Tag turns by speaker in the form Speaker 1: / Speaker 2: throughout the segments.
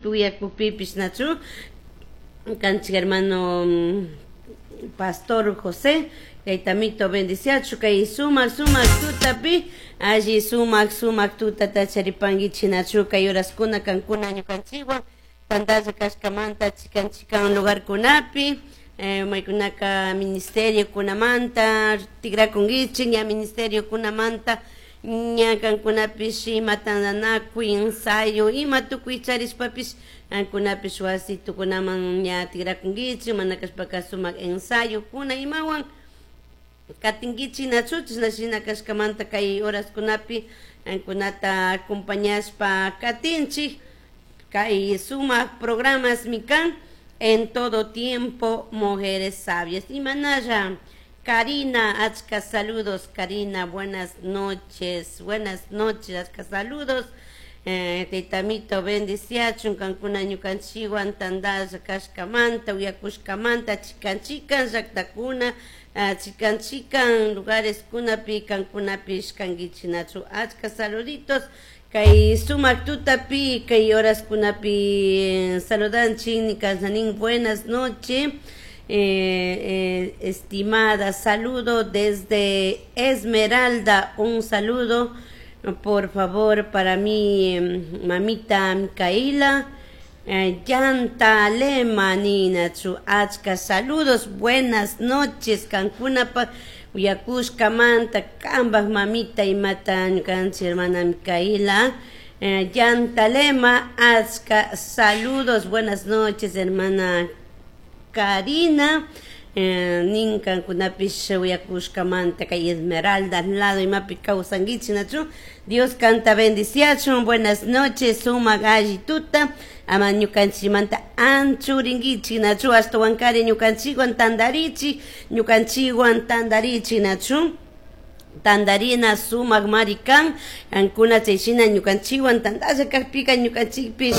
Speaker 1: Uyakukpipish nachu kanchik hermano pastor José kaytamito bendiciachu kay sumak sumak tutapi alli sumak sumak tutata charipankichik nachu kay horaskuna kankuna ñukanchikwan tantalla kashkamanta chikan chikan lugarkunapi maykunaka ministerio kunamanta tikrakunkichik ña ministerio kunamanta ña kankunapish ima tantanakuy ensayo ima tukuy charishpapish kankunapish wasitukunaman ña tikrakunkichik mana kashpaka sumak ensayokuna imawan katinkichik nachu chashna shina kashkamanta kay horaskunapi kankunata acompañashpa katinchik kay sumak programasmi kan En Todo Tiempo Mujeres Sabias. Imanalla Karina, achka saludos Karina, buenas noches, achka saludos. Taytamito bendiciachun kankuna ñukanchikwan tantalla kashkamanta uyakushkamanta chikan chikan llaktakuna chikan chikan lugares kunapi kankunapish kankichik nachu achka saluditos kay sumak tutapi kay horaskunapi saludanchik kasanin buenas noches. Estimada, saludo desde Esmeralda, un saludo por favor para mi mamita Micaela, Llanta Lema nina chu achka saludos, buenas noches kankunapaq uyakushkamanta kambaj mamita imata ñukanchik hermana Micaela, Llanta Lema, achka saludos, buenas noches hermana Karina, nin kankunapish uyakushkamanta kay Esmeralda lado imapi kawsankichik nachu Dios kanta bendiciachun, buenas noches sumak alli tuta ama ñukanchikmanta anchurinkichik nachu ashtawankari ñukanchikwan tantarichik ñukanchikwan tantarichik nachu tantarina sumak mari kan kankuna chayshina ñukanchikwan tantalla kakpika ñukanchikpish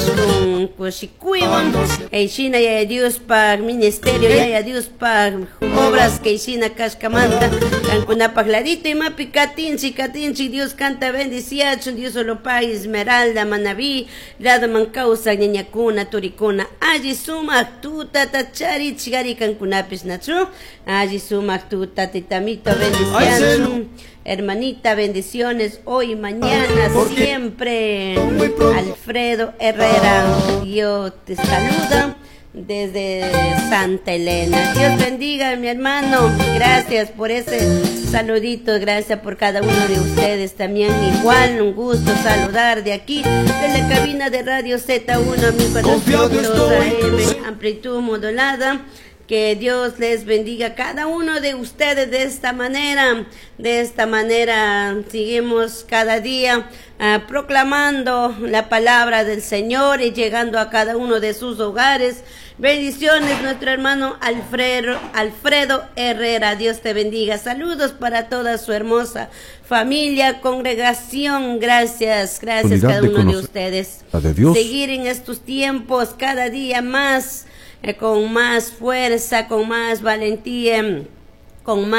Speaker 1: kushikuywan kayshina Yaya Diospaj ministerio Yaya Diospaj obras kayshina kashkamanta kankunapaj ladito imapi katinchik katinchik Dios kanta bendiciachun Dios solo pague Esmeralda Manabí ladoman kawsak ñañakuna turikuna alli sumak tutata charichik ari kankunapish nachu alli sumak tuta taytamito bendiciachun. Hermanita, bendiciones hoy, mañana, siempre. Alfredo Herrera, Dios te saluda desde Santa Elena. Dios bendiga, mi hermano. Gracias por ese saludito, gracias por cada uno de ustedes también. Igual, un gusto saludar de aquí, de la cabina de Radio Z1, 1400 AM, amplitud modulada. Que Dios les bendiga a cada uno de ustedes de esta manera. De esta manera seguimos cada día proclamando la palabra del Señor y llegando a cada uno de sus hogares. Bendiciones, nuestro hermano Alfredo Herrera. Dios te bendiga. Saludos para toda su hermosa familia, congregación. Gracias, gracias a cada uno de ustedes.
Speaker 2: De Dios.
Speaker 1: Seguir en estos tiempos cada día más, con más fuerza, con más valentía, con más